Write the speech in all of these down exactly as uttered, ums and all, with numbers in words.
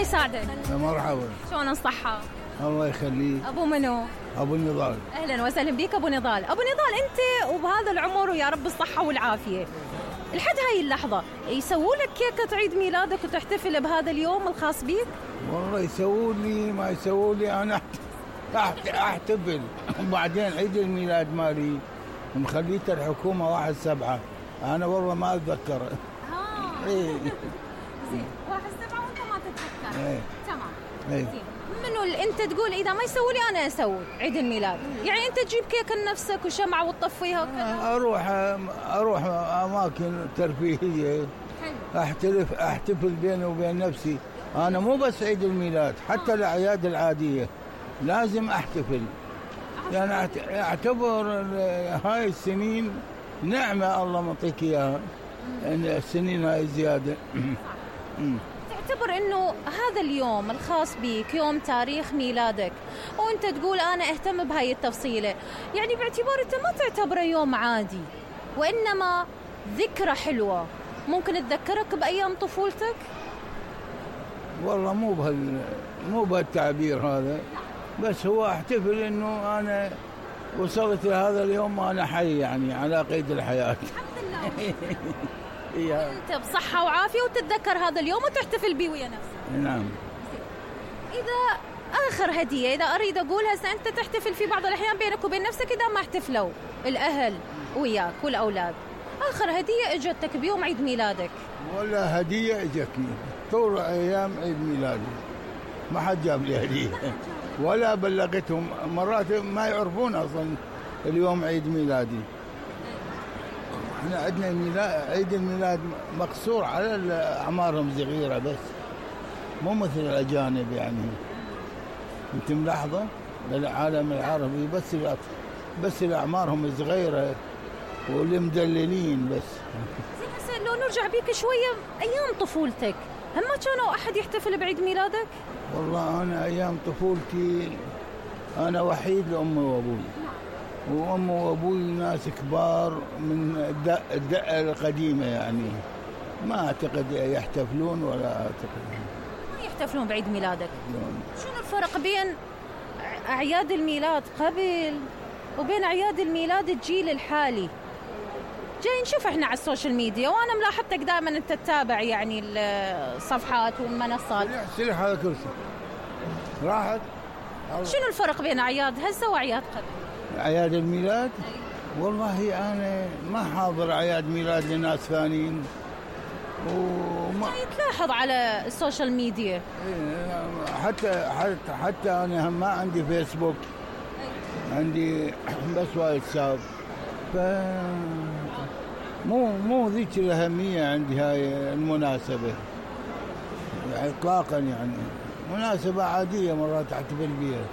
الله يساعدك. مرحبا. شلون الصحة؟ الله يخليك. أبو منو؟ أبو نضال. أهلا وسهلا بك أبو نضال. أبو نضال أنت وبهذا العمر ويا رب الصحة والعافية، لحد هاي اللحظة يسووا لك كيكة عيد ميلادك وتحتفل بهذا اليوم الخاص بيك؟ والله يسووا لي ما يسووا لي أنا أحتفل. وبعدين عيد الميلاد مالي مخليته الحكومة واحد سبعة، أنا والله ما أتذكر. آه إيه. زين واحد سبعة وأنت ما تتذكر. إيه. تمام. إيه. زين منو اللي أنت تقول إذا ما يسوي لي أنا أسوي عيد الميلاد؟ يعني أنت تجيب كيكة لنفسك وشمعة وتطفيها وكذا؟ أروح أروح أماكن ترفيهية. حلو. أحتفل أحتفل بيني وبين نفسي. أنا مو بس عيد الميلاد، حتى الأعياد العادية لازم أحتفل. يعني أعتبر هاي السنين نعمة الله معطيك إياها، إن السنين هاي زيادة. تعتبر إنه هذا اليوم الخاص بك يوم تاريخ ميلادك وأنت تقول أنا أهتم بهاي التفصيلة، يعني باعتبار أنت ما تعتبره يوم عادي وإنما ذكرى حلوة ممكن تذكرك بأيام طفولتك؟ والله مو بهال مو بهالتعبير هذا، بس هو احتفل إنه أنا وصلت لهذا اليوم وأنا حي، يعني على قيد الحياة. الحمد لله. أنت بصحة وعافية وتتذكر هذا اليوم وتحتفل به ويا نفسك. نعم. إذا آخر هدية إذا أريد أقولها، أنت تحتفل في بعض الأحيان بينك وبين نفسك إذا ما احتفلوا الأهل وياك والأولاد، آخر هدية إجتك بيوم عيد ميلادك؟ ولا هدية إجتني طول أيام عيد ميلادي، ما حد جاب لي هدية ولا بلغتهم. مرات ما يعرفون أصلا اليوم عيد ميلادي. احنا عندنا ميلاد عيد الميلاد مقصور على أعمارهم صغيرة بس، مو مثل الأجانب. يعني أنت ملاحظة للعالم العربي بس بس الأعمارهم صغيرة واللي مدللين بس. زين هسه لو نرجع بيك شوية أيام طفولتك، هم ما كانوا أحد يحتفل بعيد ميلادك؟ والله أنا أيام طفولتي أنا وحيد لأمي وأبوي، وأمي وأبوي ناس كبار من الدقة الدقة القديمة، يعني ما أعتقد يحتفلون ولا أعتقد ما يحتفلون بعيد ميلادك. شنو الفرق بين أعياد الميلاد قبل وبين أعياد الميلاد الجيل الحالي؟ جاي نشوف احنا على السوشيال ميديا وانا ملاحظتك دائما انت تتابع يعني الصفحات والمنصات. سلح هذا كرسي راحت. شنو الفرق بين اعياد هسه واعياد قبل؟ اعياد الميلاد والله انا ما حاضر اعياد ميلاد لناس ثانيين، وما جاي تلاحظ على السوشيال ميديا. حتى حتى حتى انا ما عندي فيسبوك، عندي بس واتساب، ف مو مو ذيك الأهمية عندي هاي المناسبة يعني إطلاقا. يعني مناسبة عادية مرات أحتفل بها،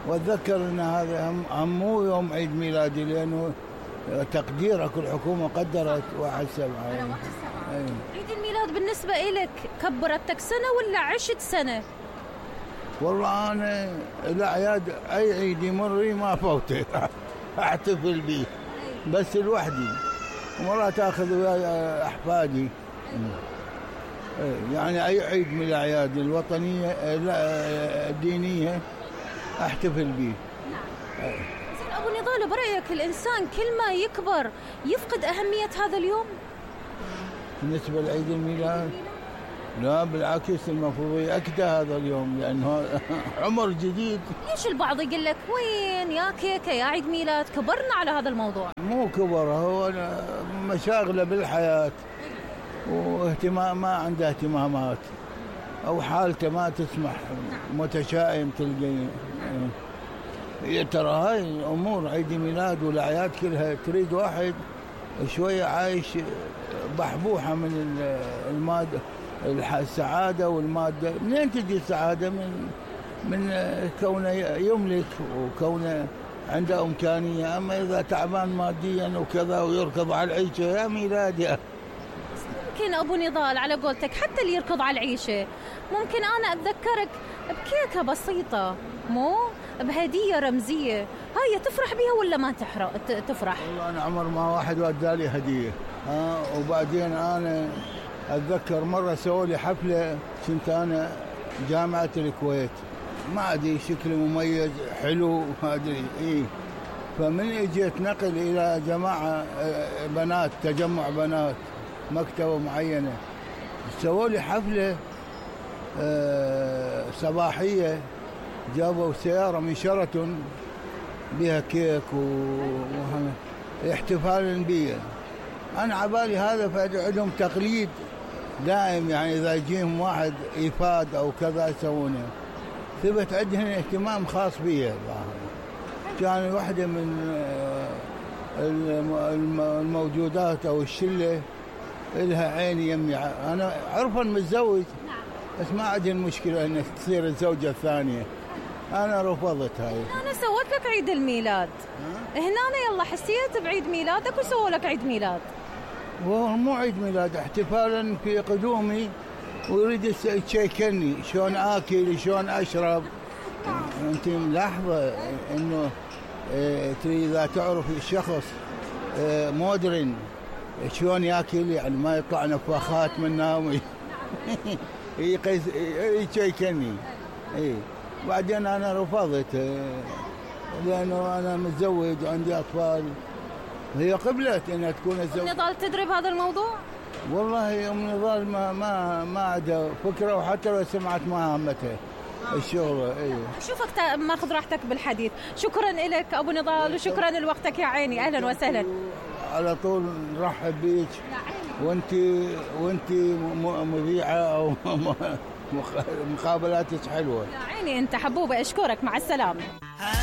وأتذكر أن هذا هم مو يوم عيد ميلادي لأنه تقديرك الحكومة قدرت واحد سبعة. يعني. عيد الميلاد بالنسبة إلك كبرتك سنة ولا عشت سنة؟ والله أنا الأعياد أي عيد يمر ما فوته أحتفل به بس لوحدي، ومرات أخذ وياي أحفادي. يعني أي عيد من الأعياد الوطنية الدينية أحتفل به. نعم. زين أبو نضال، برأيك الإنسان كل ما يكبر يفقد أهمية هذا اليوم؟ بالنسبة لعيد الميلاد لا بالعكس، المفروض يأكد هذا اليوم لأنه عمر جديد. ليش البعض يقول لك وين يا كيكة يا عيد ميلاد؟ كبرنا على هذا الموضوع. مو كبر، هو مشاغله بالحياة واهتمام، ما عنده اهتمامات أو حالته ما تسمح، متشائم تلقي. ترى هاي الأمور عيد ميلاد والأعياد كلها تريد واحد شوية عايش بحبوحة من المادة، السعادة والمادة. منين تجي السعادة؟ من من كونه يملك وكونه عنده إمكانية. أما إذا تعبان ماديا وكذا ويركض على العيشة يا ميلاد يا ممكن أبو نضال على قولتك حتى اللي يركض على العيشة ممكن أنا أتذكرك بكيكة بسيطة، مو بهدية رمزية، هاي تفرح بها ولا ما تفرح؟ والله أنا عمر ما واحد ودالي هدية. آه وبعدين أنا أتذكر مرة سووا لي حفلة، كنت أنا جامعة الكويت، ما أدري شكل مميز حلو ما أدري إيه. فمن اجيت نقل إلى جماعة بنات، تجمع بنات مكتبة معينة، سووا لي حفلة صباحية، جابوا سيارة من شيراتون بها كيك واحتفالا بي. أنا عبالي هذا عندهم تقليد دائم، يعني إذا يجيهم واحد إيفاد أو كذا يسوونه. ثبت عندهم اهتمام خاص بي. كان واحدة من الموجودات أو الشلة إلها عيني يمي، أنا عرفا متزوج بس ما عندي المشكلة أن تصير الزوجة الثانية، أنا رفضت هاي. أنا سويت لك عيد الميلاد هنا، يلا حسيت بعيد ميلادك وسووا لك عيد ميلاد. وهو مو عيد ميلاد، احتفالا في قدومي، ويريد يشيكني شلون آكل شلون أشرب. أنت ملاحظة إنه اه تريد إذا تعرف الشخص اه مودرن شلون ياكل، يعني ما يطلع نفاخات منه يقيس يشيكني. اي بعدين انا رفضت لانه انا متزوج وعندي اطفال. هي قبلت انها تكون الزوج. ام نضال تدري بهذا الموضوع؟ والله ام نضال ما ما ما عندها فكره، وحتى لو سمعت ما همتها الشغل. اي شوفك ماخذ راحتك بالحديث. شكرا لك ابو نضال وشكرا لوقتك يا عيني. اهلا وسهلا. على طول نرحب بيك، وانت وانت مذيعه او مقابلاتك حلوه. يا عيني انت حبوبه. اشكرك، مع السلامه.